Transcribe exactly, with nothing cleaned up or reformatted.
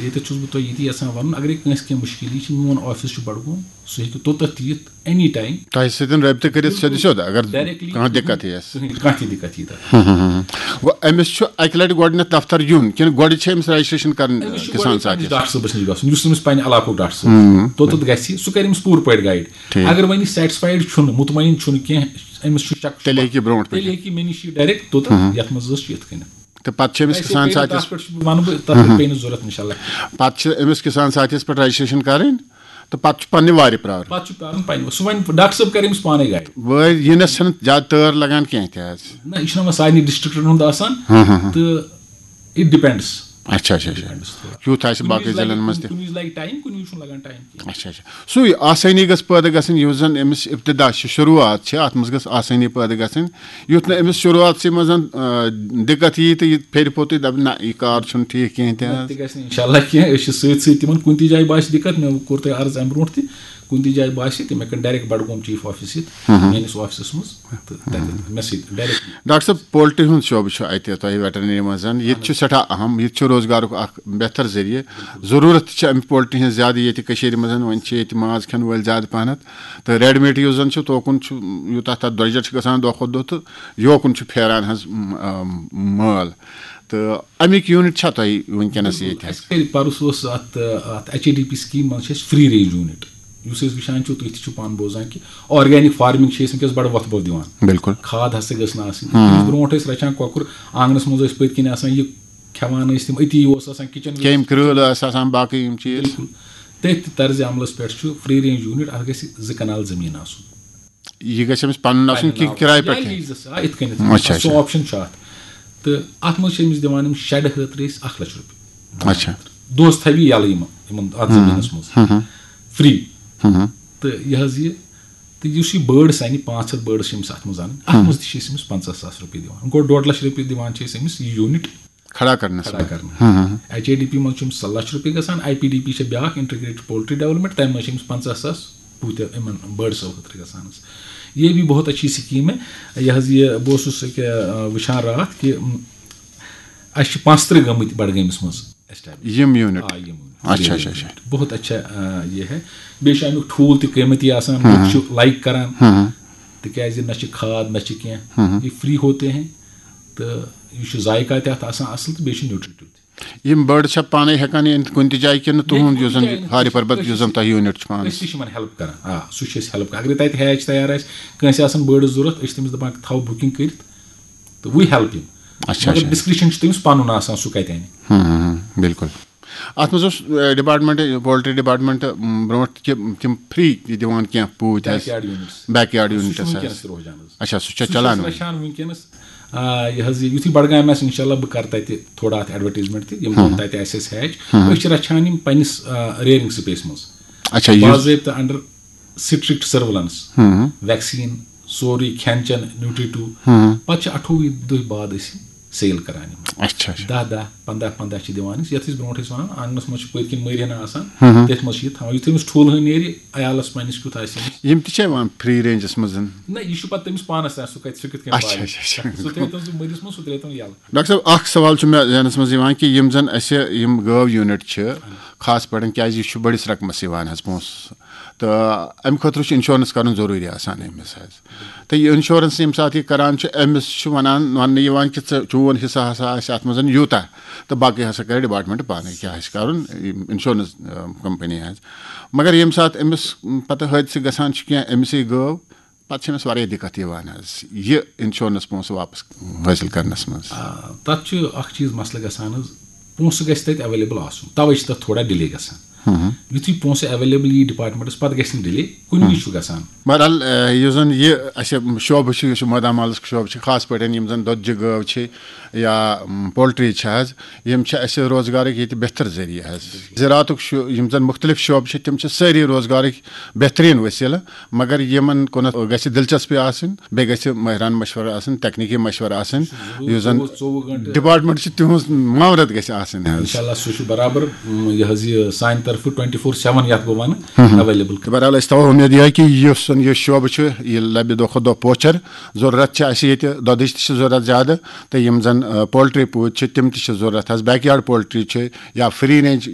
ییٚتٮ۪تھ چھُس بہٕ تۄہہِ یہِ تہِ یَژھان وَنُن، اگرے کٲنٛسہِ کینٛہہ مُشکِل یی چھِ، میون آفِس چھُ بَڈگوم، سُہ ہیٚکہِ توٚتَتھ تہِ یِتھ، اینی ٹایم۔ تۄہہِ سۭتۍ رٲبطہٕ کٔرِتھ سیوٚدِ سیوٚد، اگر ڈایریکٹلی کانٛہہ دِقت یِیَس۔ کٕہٕنۍ، کانٛہہ تہِ دِقت یی تَتھ۔ گوٚو أمِس چھُ اَکہِ لَٹہِ گۄڈٕنٮ۪تھ دفتر یُن کِنہٕ گۄڈٕ چھِ أمِس رجسٹریشن کَرٕنۍ أمِس چھُ کِسان گۄڈٕ پننِس ساتھیَس؟ ڈاکٹر صٲبَس نِش گژھُن، یُس أمِس پننہِ علاقُک ڈاکٹر صٲب چھُ۔ توٚتَتھ گژھِ، سُہ کَرِ أمِس پوٗرٕ پٲٹھۍ گایڈ۔ ٹھیٖک۔ اگر وۄنۍ یہِ سیٹسفایڈ چھُنہٕ، مطمئن چھُنہٕ کینٛہہ، أمِس چھُ شک، تیٚلہِ ہیٚکہِ یہِ برونٛٹھ پٔکِتھ۔ تیٚلہِ ہیٚکہِ یہِ مےٚ نِش یہِ ڈایریکٹ توٚتَتھ، یَتھ منٛز حظ چھُ یِتھ کٔنٮ۪تھ۔ تہٕ پَتہٕ چھِ أمِس ویسے کِسان پیٚیہِ نہٕ ساتھیَس۔ تَتھ پٮ۪ٹھ چھُ وَنہٕ بہٕ، تَتھ پٮ۪ٹھ پیٚیہِ نہٕ ضوٚرَتھ اِنشاء اللہ۔ پَتہٕ چھِ أمِس کِسان ساتھیَس پٮ۪ٹھ رجسٹریشن کَرٕنۍ، تہٕ پَتہٕ چھُ پننہِ وارِ پرٛارُن۔ پَتہٕ چھُ پرٛارُن پننہِ، سُہ وَنہِ، ڈاکٹر صٲب کَرِ أمِس پانَے گایڈ۔ وٲرۍ یِنَس چھَنہٕ زیادٕ تٲر لگان کینٛہہ تہِ حظ۔ نہ، یہِ چھُنہ وۄنۍ سارنٕے ڈسٹرکٹن ہُنٛد آسان، تہٕ اِٹ ڈِپینڈس۔ اچھا اچھا اچھا۔ کیُتھ آسہِ باقٕے ضلعن منٛز تہِ۔ کُنہِ وِزِ لگہِ ٹایم، کُنہِ وِزِ چھُنہٕ لگان ٹایم کینٛہہ۔ اچھا اچھا۔ سُے آسٲنی گٔژھ پٲدٕ گژھٕنۍ، یُس زن أمِس ابتدا چھِ، شروٗعات چھِ، اتھ منٛز گٔژھ آسٲنی پٲدٕ گژھٕنۍ، یُتھ نہٕ أمِس شروٗعاتسٕے منٛز آ، دِقت یی تہٕ یہِ پھیرِ پوٚتُے دپہِ، نہ، یہِ کار چھُنہٕ ٹھیٖک کینٛہہ تہِ حظ۔ تہِ گژھِ نہٕ انشاءاللہ کینٛہہ، أسۍ چھِ سۭتۍ سۭتۍ تِمن۔ کُنہِ تہِ جایہِ باسہِ دِقت، مےٚ کوٚر تۄہہِ عرض امہِ برونٛٹھ تہِ، کُنہِ تہِ جایہِ باسہِ تہٕ مےٚ کٔرۍ ڈایریکٹ بڈگوم چیف آفس یِتھ، میٲنِس آفسس منٛز، تہٕ تتہِ مےٚ سۭتۍ ڈایریکٹ۔ ڈاکٹر صٲب، پولٹری ہُنٛد شعبہٕ چھُ اَتہِ تۄہہِ ویٹرنری منٛز، ییٚتہِ چھُ سٮ۪ٹھاہ اہم، ییٚتہِ چھُ روزگارُک اکھ بہتر ذٔریعہٕ۔ ضروٗرت چھِ اَمہِ پولٹری ہٕنٛز زیادٕ ییٚتہِ کٔشیٖرِ منٛز، وۄنۍ چھِ ییٚتہِ ماز کھٮ۪ن وٲلۍ زیادٕ پہنتھ، تہٕ ریڈی میڈ یُس زن چھُ، توکُن چھُ یوٗتاہ تَتھ درٛۄجر چھُ گژھان دۄہ کھۄتہٕ دۄہ، تہٕ یوکُن چھُ پھیران حظ، م-، آ، مٲل۔ تہٕ اَمیُک یوٗنٹ چھا تۄہہِ وٕنکیٚنس ییٚتہِ حظ؟ اَسہِ کَرِ پَرُس اوس اَتھ، اَتھ H A D P scheme منٛز چھِ اَسہِ فری رینج یوٗنٹ، یُس أسۍ وٕچھان چھُ، تُہۍ تہِ چھِو پانہٕ بوزان کہِ آرگینک فارمنگ چھِ أسۍ وٕنکیٚس بَڑٕ وۄتھٕ بَو دِوان۔ بِلکُل۔ کھاد ہسا گٔژھ نہٕ آسٕنۍ۔ أمِس برونٛٹھ ٲسۍ رَچھان کۄکُر، آنٛگنَس منٛز ٲسۍ پٔتۍ کِنۍ آسان یہِ کھٮ۪وان ٲسۍ تِم، أتی اوس آسان کِچن۔ کیٚمۍ کرۭل ٲس آسان، باقٕے یِم چیٖز۔ بِلکُل۔ تٔتھۍ تہِ طرزِ عملس پٮ۪ٹھ چھُ فری رینج یوٗنٹ، اَتھ گژھِ زٕ کنال زٔمیٖن آسُن۔ یہِ گژھِ أمِس پَنُن آسُن کہِ کِراے پٮ۪ٹھ؟ لیٖزَس، آ، یِتھ کٔنٮ۪تھ۔ اچھا، اچھا۔ سُہ آپشن چھُ اَتھ۔ تہٕ اَتھ منٛز چھِ أمِس دِوان یِم شیڈٕ خٲطرٕ أسۍ اکھ لَچھ رۄپیہِ۔ اچھا۔ دۄہَس تھاوِ یہِ یَلہٕ یِمن، یِمن اَتھ زٔمیٖنَس منٛز۔ فری۔ ہُم۔ تہٕ یہِ حظ یہِ، تہٕ یُس یہِ بٲڈٕس اَنہِ، پانٛژھ ہَتھ بٲڈٕس چھِ أمِس اَتھ منٛز اَنٕنۍ، اَتھ منٛز تہِ چھِ أسۍ أمِس پنٛژاہ ساس رۄپیہِ دِوان۔ گوٚو ڈۄڈ لَچھ رۄپیہِ دِوان چھِ أسۍ أمِس یہِ یوٗنٹ کھڑا کرنس کھڑا منٛز۔ کرنہٕ۔ ایچ اے ڈی پی منٛز چھِ أمِس لَچھ رۄپیہِ گژھان، آئی پی ڈی پی چھِ بیٛاکھ انٹیگریٹڈ پولٹری ڈیولپمنٹ، تَمہِ منٛز چھِ أمِس پنٛژاہ ساس پوٗتہِ یِمن بٲڈسو خٲطرٕ گژھان حظ۔ یہ بھی بہت اچھی سکیٖم ہے۔ یہِ حظ یہِ بہٕ اوسُس أکہِ، آ، وٕچھان راتھ کہِ، م، اَسہِ چھِ پانٛژترٕٛہ گٔمٕتۍ بڈگٲمِس منٛز establish۔ یِم یوٗنٹ۔ آ، یِم۔ اچھا، اچھا، اچھا۔ بہت اچھا، آ، یہ ہے۔ بیٚیہِ چھُ اَمیُک ٹھوٗل تہِ قۭمتی آسان، لُکھ چھِ لائک کران، تِکیازِ نہ چھِ کھاد، نہ چھِ کینٛہہ، یہ فری ہوتے ہیں، تہٕ یہِ چھُ ذائقہ تہِ اَتھ آسان اَصٕل تہٕ بیٚیہِ چھُ نیوٗٹریٹو تہِ۔ یِم بٲڈ چھا پانے ہٮ۪کان یہِ أنِتھ کُنہِ تہِ جایہِ کِنہٕ تُہُنٛد یُس زن ہاری پربت یُس زن تۄہہِ یوٗنٹ چھُ پانس؟ أسۍ تہِ چھِ یِمن ہیلپ کران، آ، سُہ چھِ أسۍ ہیلپ کران۔ اگرے تتہِ ہیچ تیار آسہِ، کٲنٛسہِ آسن بٲڈس ضروٗرت، أسۍ چھِ تٔمِس دپان تھاو بُکِنگ کٔرِتھ تہٕ وی ہیلپ یِم۔ اچھا، مگر اچھا۔ ڈسکرپشن چھُ تٔمِس پنُن آسان، سُہ کتہِ انہِ۔ ہم، ہم، ہم، بِلکُل۔ اتھ منٛز اوس، اے، ڈپارٹمنٹ، پولٹری ڈپارٹمنٹ، م، برونٛٹھ تہِ تِم فری تہِ دِوان کینٛہہ پوٗتۍ حظ۔ Back yard units. Back yard سُہ چھُ یونٹس حظ۔ وٕنکیٚنس تہِ روزان حظ۔ اچھا، سُہ چھا سُہ چھُ چلان أسۍ وۄنۍ؟ رچھان وٕنکیٚنس۔ آ، یہِ حظ یہِ، یُتھُے بڈگامہِ آسہِ، انشاءاللہ بہٕ کرٕ تتہِ تھوڑا اتھ ایڈورٹیزمنٹ تہِ، یِم زن تتہِ آسہِ اَسہِ ہیچ۔ أسۍ چھِ رچھان یِم پننِس، آ، ریئرنگ سپیس منٛز۔ اچھا، یُس باضٲبطہٕ انڈر سٹرکٹ سرویلنس، ویکسین، سورُے کھٮ۪ن چٮ۪ن، نیوٗٹریٹو۔ پتہٕ چھِ اَٹھووُہ دۄہہِ بعد أسۍ یِم سیل کران یِم۔ اچھا، اچھا۔ دَہ دَہ، پنٛداہ پنٛداہ چھِ دِوان أسۍ، یَتھ أسۍ برونٛٹھ ٲسۍ وَنان، آنٛگنَس منٛز چھِ پٔتۍ کِنۍ مٔرۍ ہنا آسان، تٔتھۍ منٛز چھِ یہِ تھاوان۔ یُتھُے أمِس ٹھوٗل ہن نیرِ، عیالَس پنٛنِس کیُتھ آسہِ أمِس۔ یِم تہِ چھا یِوان فری رینجس منٛز دِنہٕ؟ نہ، یہِ چھُ پَتہٕ تٔمِس پانَس تام، سُہ کَتہِ، سُہ کِتھ کٔنۍ اچھا، پالہِ۔ اچھا، اچھا۔ سُہ ترٛٲیتَن سُہ مٔرِس منٛز، سُہ ترٛٲیتَن یَلہٕ۔ ڈاکٹر صٲب، اکھ سوال چھُ مےٚ ذہنس منٛز یِوان کہِ یِم زن اَسہِ یِم گٲو یوٗنٹ چھِ، خاص پٲٹھۍ کیازِ یہِ چھُ بٔڑِس رقمس یِوان حظ پونٛسہٕ، تہٕ اَمہِ خٲطرٕ چھُ انشورنس کرُن ضروٗری آسان أمِس حظ۔ تہٕ یہِ انشورنس ییٚمہِ ساتہٕ یہِ کران چھُ، أمِس چھُ ونان، وننہٕ یِوان کہِ ژٕ، چون حصہٕ ہسا آسہِ اتھ منٛز یوٗتاہ، تہٕ باقٕے ہسا کرِ ڈپارٹمنٹ پانے کیٛاہ آسہِ کرُن، یِم انشورنس، آ، کمپنی ہٕنٛز۔ مگر ییٚمہِ ساتہٕ أمِس پتہٕ حٲدثہٕ گژھان چھُ کینٛہہ، أمِسٕے گٲو، پتہٕ چھِ أمِس واریاہ دِقت یِوان حظ یہِ انشورنس پونٛسہٕ واپس حٲصِل کرنس منٛز۔ آ، تَتھ چھُ اکھ چیٖز مسلہٕ گژھان حظ، پونٛسہٕ گژھِ تَتہِ ایویلیبل آسُن، تَوَے چھِ تَتھ تھوڑا ڈِلے گژھان۔ یُتھُے پونٛسہٕ ایویلیبل یی ڈپارٹمنٹس، پتہٕ گژھِ نہٕ ڈِلے، کُنہِ وِزِ چھُ گژھان۔ بہرحال، اے، یُس زن یہِ اَسہِ شعبہٕ چھُ، یُس یہِ مٲدان مالس شعبہٕ چھُ، خاص پٲٹھۍ یِم زن دۄدجہِ گٲو چھِ یا، م، پولٹری چھِ حظ، یِم چھِ اَسہِ روزگارٕکۍ ییٚتہِ بہتر ذٔریعہٕ حظ۔ زِراعتُک شُ-، یِم زن مُختٔلِف شعبہٕ چھِ، تِم چھِ سٲری روزگارٕکۍ بہتریٖن وسیٖلہٕ، مگر یِمن کُنتھ گژھِ دلچسپی آسٕنۍ، بیٚیہِ گژھِ مٲہرانہٕ مشورٕ آسٕنۍ، تکنیٖکی مشورٕ آسٕنۍ، یُس زن ژوٚوُہ گٲنٛٹہٕ۔ ڈپارٹمنٹ چھُ، تِہُنٛز معاونت گژھِ آسٕنۍ حظ۔ انشاءاللہ سُہ چھُ برابر، م، یہِ حظ یہِ سانہِ ٹوینٹی فور سیون یَتھ بہٕ وَنہٕ ایویلیبل۔ بہرحال، أسۍ تھاوو اُمید یِہے کہِ یُس زَن یہِ شعبہٕ چھُ، یہِ لَبہِ دۄہ کھۄتہٕ دۄہ پوچھر۔ ضروٗرت چھِ اَسہِ ییٚتہِ دۄدٕچ تہِ چھِ ضروٗرت زیادٕ، تہٕ یِم زَن، آ، پولٹری پوٗتۍ چھِ، تِم تہِ چھِ ضروٗرت حظ۔ بیک یارڈ پولٹری چھِ یا فری رینج